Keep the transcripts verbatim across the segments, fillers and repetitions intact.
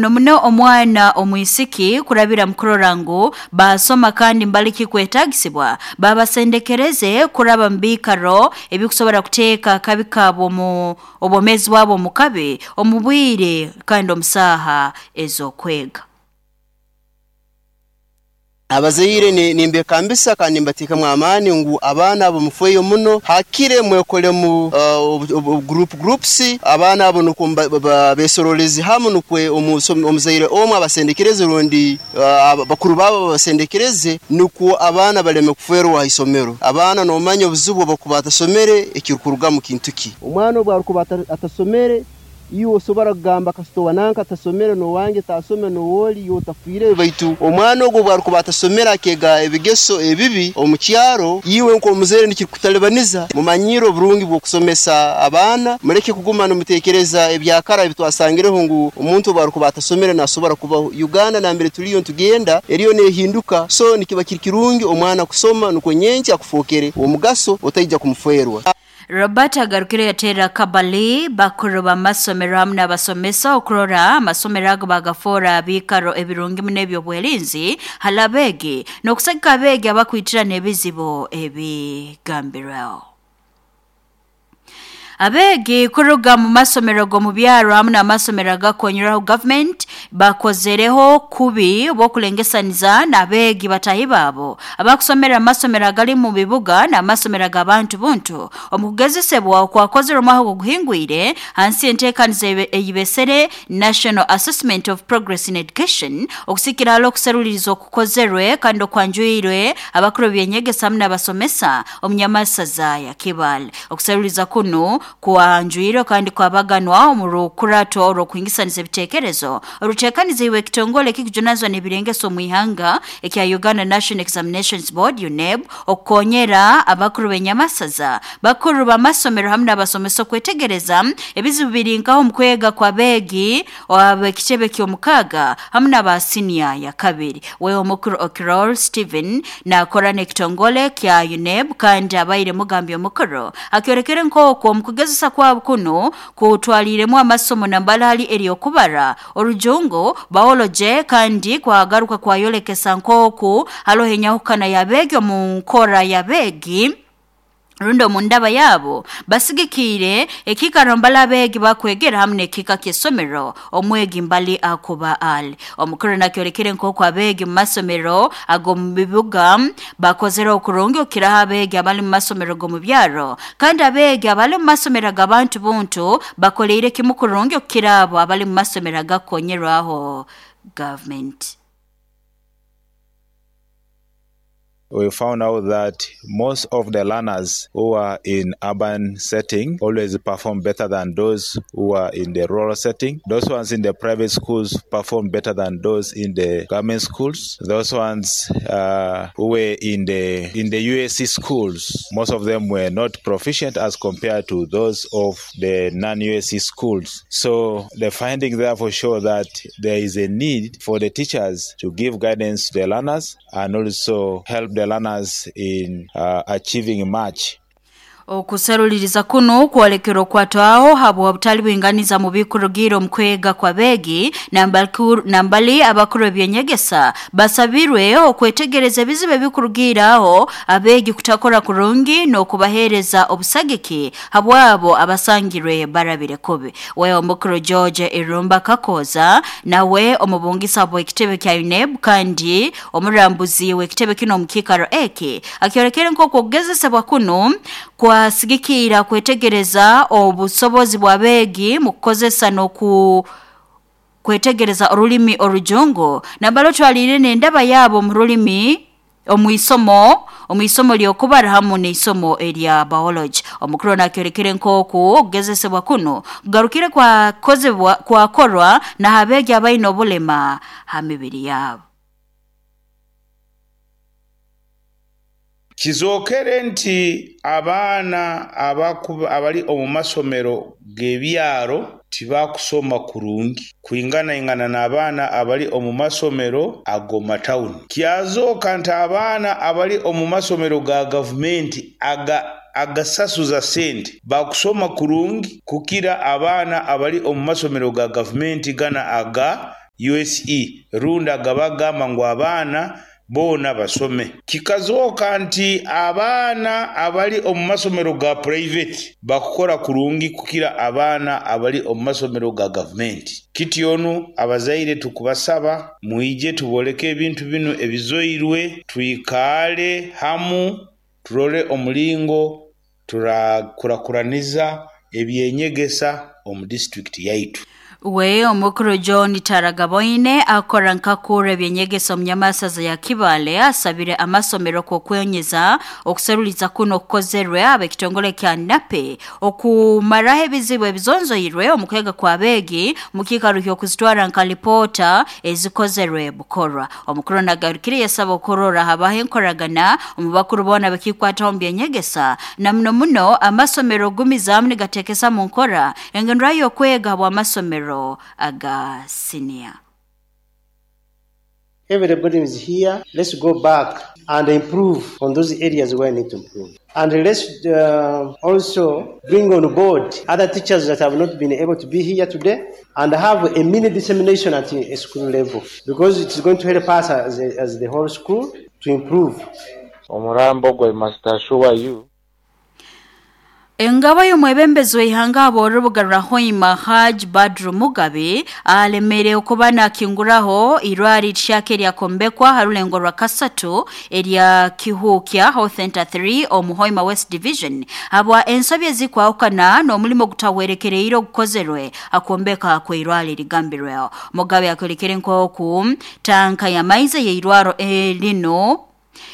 Muno muno omwana omwisiki kurabira mukurora ngu basoma kandi mbaliki kwetagisibwa babasendekereze kuraba mbikaro ebikusobora kuteeka akabi kabo mu obwomezi bwabo mukabi omubwire kandi omusaha ezokwega. Abazaire nimbekambisa kandi nimbateekamu amaani ngu abaana abo mufeeyo muno, hakire mwekolemu uh, group groups, abaana abo nukwo besorolezi hamu, nukwe omuzaire omwe abasendekereze rundi uh, bakuru babo babasendekereze, nukwo abaana baleme kuferwa ha isomero. Abaana nomanya obuzibu obukuba atasomere ekirukuruga mu kintu ki. Omwana obu arukuba atasomere, iwe osobora kugamba kasito wananka atasomere nowange tasome nowoli iwe otafiire, baitu omwana ogwo bwarukuba atasomere akega ebigeso ebibi omu kyaro, iwe nk'omuzaire nikikutalibaniza. Mumanyire oburungi bw'okusomesa abaana, mureke kuguma nimutekereza ebyakara ebitwasangireho ngu omuntu bwarukuba atasomere nasobora kubaho. Uganda nambere tuliyo ntugenda eriyo nehinduka, so nikiba kiri kirungi omwana kusoma nukwo nyenki akufokere omugaso otaija kumuferwa. Robert agarukire yatera kabali bakuru b'amasomero hamwe n'abasomesa okurora amasomero ago bagafora abikaro ebirungi muno eby'obwelinzi halabegi n'okusagika abeegi abakwitira n'ebizibu ebigambirweho. Abeegi kuruga mu masomero g'omu byaro hamwe n'amasomero agakonyeraho government bakozereho kubi bw'okulengesaniza n'abeegi batahi baabo abakusomera amasomero agali mu bibuga n'amasomero ag'abantu buntu. Omu kugezesebwa okwakozere omwaka oguhingwire hansi enteekaniza eyibesere National Assessment of Progress in Education okusikira hali okuseruliriza okukozerwe kandi okwanjwirwe abakuru b'enyegesa hamwe n'abasomesa omunyamasaza ya Kibale. Okuseruliriza kuno kwanjwirwe kandi kwabaganwa omu rukurato orw'okuhingisaniza ebiteekerezo oruteekaniziibwe ekitongole ekikujunanizibwa n'ebirengeso omu ihanga ekya Uganda National Examinations Board U N E B okukonyera abakuru b'enyamasaza, bakuru b'amasomero hamwe n'abasomesa okwetegereza ebizibu biri nkaho omu kwega kw'abeegi ab'ekitebe ky'omukaaga hamwe n'aba siniya ya kabiri. We omukuru Okirol Stephen naakora n'ekitongole kya U N E B kandi abaire mugambi omukuru akyorekere nk'okwo omu kugezesa kwabo kuno kutwaliremu amasomo nambala hali eryokubara orujungu biology kandi kwagaruka kwayolekesa nk'oku haloho enyahukana y'abeegi omu nkora y'abeegi rundi omu ndaba yabo basigikiire ekiikaro mbali abeegi bakwegera hamwe n'ekiika ky'essomero omwegi mbali akuba ali. Omukuru nakyorekere nk'oku abeegi mu masomero ag'omu bibuga bakozere okurungi okukiraho abeegi abali mu masomero g'omu byaro, kandi abeegi abali mu masomero ag'abantu buntu bakoleire kimu kurungi okukira abo abali mu masomero agakonyerwaho government. We found out that most of the learners who are in urban setting always perform better than those who are in the rural setting. Those ones in the private schools perform better than those in the government schools. Those ones uh, who were in the in the U S C schools, most of them were not proficient as compared to those of the non-U S C schools. So the findings therefore show that there is a need for the teachers to give guidance to the learners and also help the learners in uh, achieving much. Okuseruliriza kuno kwolekera okwatwaho habwa obutali bwinganiza mu bikurugiro mu kwega kw'abeegi nambali abakuru ebyenyegesa basabirwe okwetegereza ebizibu ebikurugiraho abeegi kutakora kurungi n'okubaheereza obusagiki habwabo abasangirwe barabire kubi. We omukuru George Irumba Kakoza nawe omubungisa bw'ekitebe kya U N E B kandi omurambuzi w'ekitebe kino omu kiikaro eki akyorekere nk'oku okugezesebwa kuno kwasigikira kwetegereza obusobozi bw'abeegi mu kukozesa n'oku kwetegereza orulimi orujungu nambalo twalire n'endaba yabo mu rulimi omwisomo omwisomo lyokubara hamu n'isomo erya biology. Omukuru nakyorekere nk'oku okugezesebwa kuno kugarukire kwakozebwa kwakorwa n'abeegi abaine obulema ha mibiri yabo. Kizookere nti abaana abali omu masomero g'ebyaro tibakusoma kurungi kwinganaingana n'abaana abali omu masomero ag'omu tawuni. Kyazooka nti abaana abali omu masomero ga gavumenti aga agasasuza sente bakusoma kurungi kukira abaana abali omu masomero ga gavumenti gana aga U S E rundi agabagamba ngu abaana boona basome. Kikazooka nti abaana abali omu masomero ga private bakukora kurungi kukira abaana abali omu masomero ga gavumenti. Kityonu abazaire tukubasaba mwije tuboleke ebintu bino ebizoirwe, twikale hamu turole omulingo turakurakuraniza ebyenyegesa omu district yaitu. We omukuru John Taragaboine akora nkakura ebyenyegesa omunyamasaza ya Kibale asabire amasomero kokwenyeza okuseruliza kuno okukozerwe abekitongole kya NAPE okumaraho ebizibu ebizonzoirwe omukwega kwa begi mukikaruhyo kuzitwara nka ripota ezikozerwe bukorwa. Omukuru nagarukire yasaba okurora habaho enkoragana omu bakuru bona bekikwataho byenyegesa na muno muno amasomero gumizamu nigatekesa mu nkora engendera y'okwega bwa masomero aga senior. Everybody is here. Let's go back and improve on those areas where we need to improve. And let's uh, also bring on board other teachers that have not been able to be here today and have a mini dissemination at a school level, because it is going to help us as, a, as the whole school to improve. Omurambo gwe must assure you. Engabo y'omwebembezi w'ihanga ab'orubuga rwa Hoima Haj Badru Mugabe alemere okuba nakinguraho irwari tishake eryakombekwa harulengo rwa kasatu erya Kihuukya Health Center three omu Hoima West Division habwa ensobi ezikwahukana n'omulimo gutahwerekereire ogukozerwe akombeka kw'irwari rigambirweho. Mugabe akolekere nk'oku tanka y'amaizi y'irwaro erino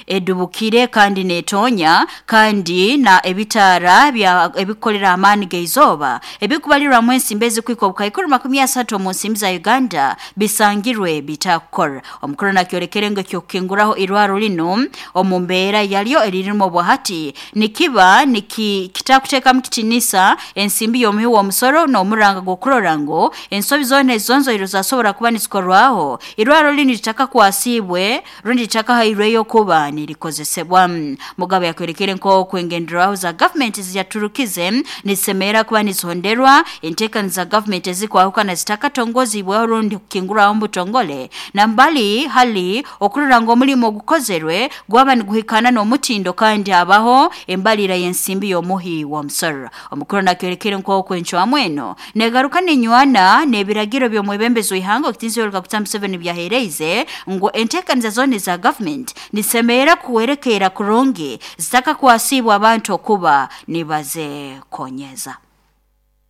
edubukire kandi netonya kandi na ebitara bya ebikolera amani geizoba ebikubalirwa mu ensimbi ezikwika obukaikuru makumi asatu mu nsimbi za Uganda bisangirwe bitakora. Omukuru nakyolekere ngo kyokinguraho irwaro lino omu mbeera yalyo eririmo obwahati nikiba niki kitakuteekamu kitinisa ensimbi y'omuhi w'omusoro n'omuranga gw'okurora ngo ensobi zoona ezonzoiro zasobora kuba nizikorwaho irwaro lino litaka kwasibwe rundi litaka hairweyo kuba nirikozesebwa. Mugabe yakwerekere nko kwengenderaho za government ziyaturukize nisemera kuba nizihonderwa entekaniza za government ezikwahuka zitakatongozibwa rundi kukinguraho mbutongole na mbali hali okurora ngo omulimo gukozerwe gwaba niguhikana n'omutindo kandi abaho embalira y'ensimbi y'omuhi w'omusoro. Omukuru nakwerekere nko kwencwamu eno negaruka ninywana n'ebiragiro by'omwebembezi w'ihanga okutinzi Yoweri Kaguta Museveni byahereize ngo entekaniza zone za government nisemera kuwerekera kurungi zitaka kuwasibwa abantu okuba nibaze konyeza.